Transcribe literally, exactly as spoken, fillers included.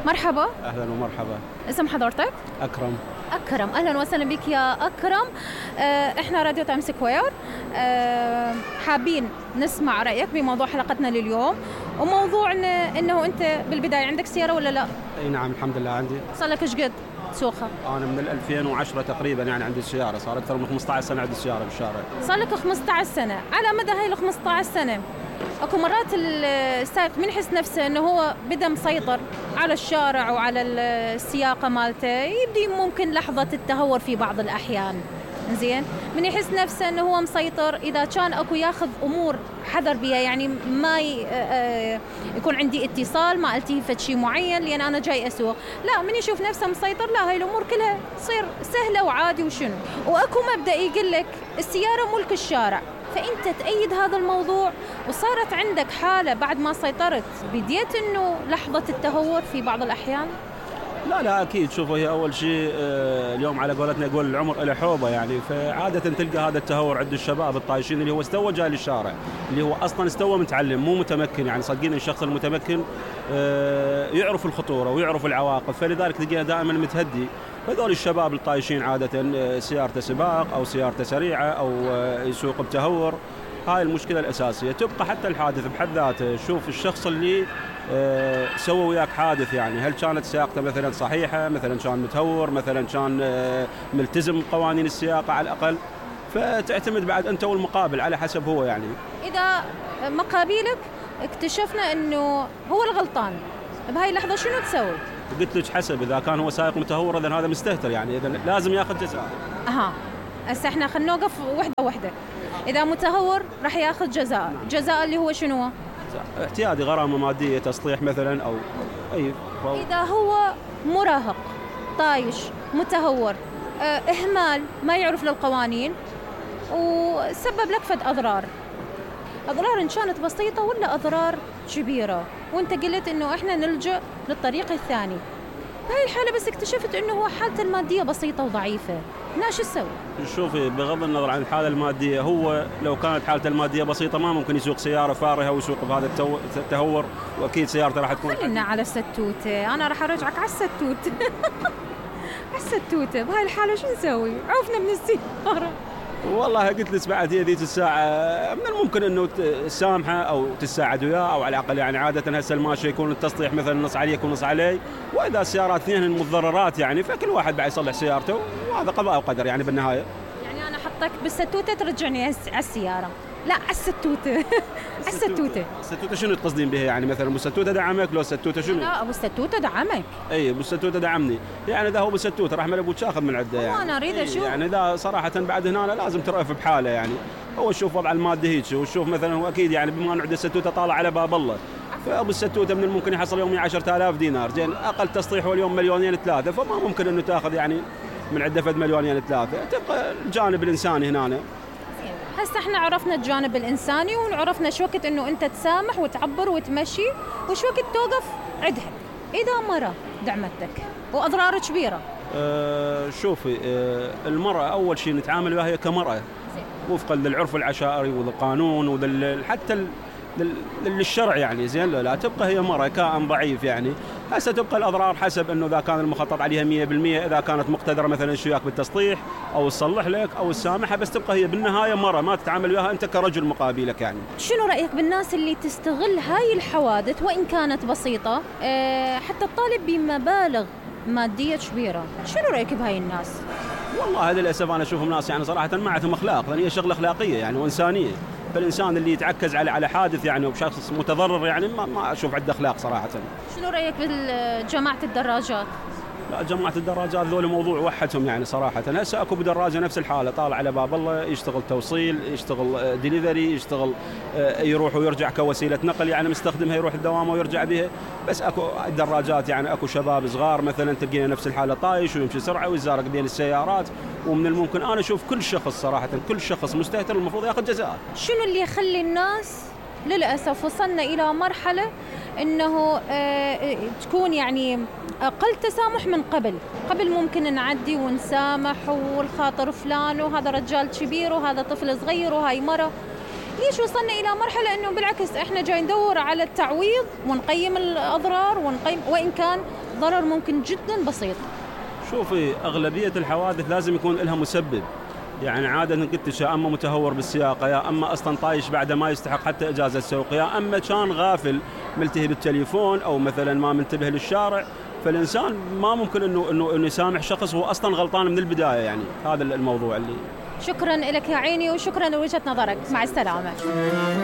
مرحبا. أهلا ومرحبا. اسم حضرتك؟ أكرم. أكرم، أهلا وسهلا بك يا أكرم. آه، إحنا راديو تايم سكوير، آه، حابين نسمع رأيك بموضوع حلقتنا لليوم، وموضوعنا إنه أنت بالبداية عندك سيارة ولا لا؟ أي نعم الحمد لله عندي. صار لك إيش قد تسوقها؟ أنا من ألفين وعشرة تقريبا يعني عندي السيارة، صار أكثر من خمسة عشر سنة عندي السيارة بالشارع. صار لك خمسة عشر سنة، على مدى هاي ال خمسة عشر سنة اكو مرات السائق من يحس نفسه انه هو بدا مسيطر على الشارع وعلى السياقه مالته، يبدي ممكن لحظه التهور في بعض الاحيان. زين، من يحس نفسه انه هو مسيطر اذا كان اكو ياخذ امور حذر بها، يعني ما يكون عندي اتصال، ما التهي شيء معين لان انا جاي اسوق، لا من يشوف نفسه مسيطر لا هاي الامور كلها تصير سهله وعادي وشنو. واكو مبدا يقول لك السياره ملك الشارع، فأنت تأيد هذا الموضوع وصارت عندك حالة بعد ما سيطرت بديت إنه لحظة التهور في بعض الأحيان؟ لا لا أكيد. شوفوا هي أول شيء اليوم على قولتنا يقول العمر إلى حوبة يعني، فعادة تلقى هذا التهور عند الشباب الطايشين اللي هو استوى جاي للشارع، اللي هو أصلاً استوى متعلم مو متمكن. يعني صدقين الشخص المتمكن يعرف الخطورة ويعرف العواقب، فلذلك تلقيه دائماً متهدي. هذول الشباب الطايشين عادة سيارته سباق أو سيارته سريعة أو يسوق بتهور، هاي المشكلة الأساسية. تبقى حتى الحادث بحد ذاته، شوف الشخص اللي سوى وياك حادث، يعني هل كانت سياقته مثلا صحيحة، مثلا كان متهور، مثلا كان ملتزم بقوانين السياقة على الأقل، فتعتمد بعد أنت والمقابل على حسب هو. يعني إذا مقابلك اكتشفنا أنه هو الغلطان بهاي اللحظة شنو تسوي؟ قلت لك حسب، إذا كان هو سائق متهور إذن هذا مستهتر، يعني إذن لازم يأخذ جزاء. أها، هسه إحنا خلينا نوقف وحدة وحدة. إذا متهور راح يأخذ جزاء، جزاء اللي هو شنو؟ اعتيادي، غرامة مادية، تصليح مثلا أو أي فو... إذا هو مراهق طايش متهور، اه إهمال، ما يعرف للقوانين وسبب لك فد أضرار، أضرار إن كانت بسيطة ولا أضرار كبيرة، وأنت قلت إنه إحنا نلجأ للطريق الثاني، بهاي الحالة بس اكتشفت إنه هو حالته المادية بسيطة وضعيفة، هنا شو تسوي؟ شوفي، بغض النظر عن الحالة المادية، هو لو كانت حالته المادية بسيطة ما ممكن يسوق سيارة فارهة ويسوق بهذا التهور، وأكيد سيارته راح تكون. خلينا على الستوتة، أنا راح أرجعك على الستوتة. على الستوتة، بهاي الحالة شو نسوي؟ عوفنا من السيارة. والله قلت لك بعد هي ذيك الساعة من الممكن انه تسامحه او تساعد وياه، او على الاقل يعني عادة هسه الماشي يكون التصليح مثلا نص عليك ونص علي، واذا السيارات اثنين المتضررات يعني فكل واحد بعد يصلح سيارته، وهذا قضاء وقدر يعني بالنهاية. يعني انا احطك بالستوتة ترجعني على السيارة؟ لا، على الستوتة. على الستوتة. الستوتة شنو تقصدين بها يعني؟ مثلا ابو الستوتة دعمك لو الستوتة شنو؟ لا، ابو الستوتة دعمك. اي ابو الستوتة دعمني، يعني اذا هو ابو الستوتة راح ابوك تاخذ من عده يعني. انا اريد اشوف يعني اذا صراحة بعد هنا لازم ترأف بحاله، يعني هو شوف وضع المادي هيك، وشوف مثلا هو اكيد يعني بما انه عنده الستوتة طالع على باب الله، فابو الستوتة من الممكن يحصل يوميا عشرة آلاف دينار، زين اقل تصليح هو اليوم مليونين ثلاثة، فما ممكن انه تاخذ يعني من عده فد مليونين ثلاثة، تبقى الجانب الانساني هنا. هسه احنا عرفنا الجانب الانساني وعرفنا شو وقت انه انت تسامح وتعبر وتمشي، وشو وقت توقف عدها. اذا مرة دعمتك واضرار كبيرة، أه شوفي، أه المرأة اول شيء نتعامل وياها كمرأة وفقا للعرف العشائري والقانون وحتى للشرع يعني، زين لا, لا تبقى هي مرأة كائن ضعيف يعني. هسه تبقى الأضرار حسب أنه إذا كان المخطط عليها مية بالمية، إذا كانت مقتدرة مثلا شو وياك بالتصليح أو تصلح لك أو تسامحها، بس تبقى هي بالنهاية مرة ما تتعامل وياها أنت كرجل مقابلك يعني. شنو رأيك بالناس اللي تستغل هاي الحوادث وإن كانت بسيطة أه حتى تطالب بمبالغ مادية كبيرة؟ شنو رأيك بهاي الناس؟ والله هذا للأسف أنا أشوفهم ناس يعني صراحة ما عندهم أخلاق، لأن هي شغلة أخلاقية يعني وإنسانية، فالإنسان اللي يتعكز على على حادث يعني وبشخص متضرر يعني ما, ما أشوف عنده أخلاق صراحة. شنو رأيك بجماعة الدراجات؟ لا، جماعة الدراجات ذول موضوع وحدهم يعني صراحة. هسه اكو بدراجة نفس الحالة طالع على باب الله، يشتغل توصيل، يشتغل ديليفري، يشتغل يروح ويرجع كوسيلة نقل يعني مستخدمها يروح الدوام ويرجع بها. بس اكو الدراجات يعني اكو شباب صغار مثلا تلقينا نفس الحالة طايش ويمشي سرعة ويزارق بين السيارات، ومن الممكن انا اشوف كل شخص صراحة كل شخص مستهتر المفروض ياخذ جزاء. شنو اللي يخلي الناس للأسف وصلنا إلى مرحلة إنه آه تكون يعني أقل تسامح من قبل قبل ممكن نعدي ونسامح والخاطر فلان وهذا رجال كبير وهذا طفل صغير وهاي مرة. ليش وصلنا إلى مرحلة إنه بالعكس إحنا جاي ندور على التعويض ونقيم الأضرار ونقيم، وإن كان ضرر ممكن جدا بسيط. شوفي أغلبية الحوادث لازم يكون لها مسبب، يعني عادة قلت يا أما متهور بالسياقة، يا أما أصلا طايش بعد ما يستحق حتى إجازة سوق، يا أما كان غافل ملتهي بالتليفون أو مثلا ما منتبه للشارع. فالإنسان ما ممكن إنه إنه إنه يسامح شخص هو أصلا غلطان من البداية. يعني هذا الموضوع اللي. شكرا لك يا عيني وشكرا لوجهة نظرك، مع السلامة.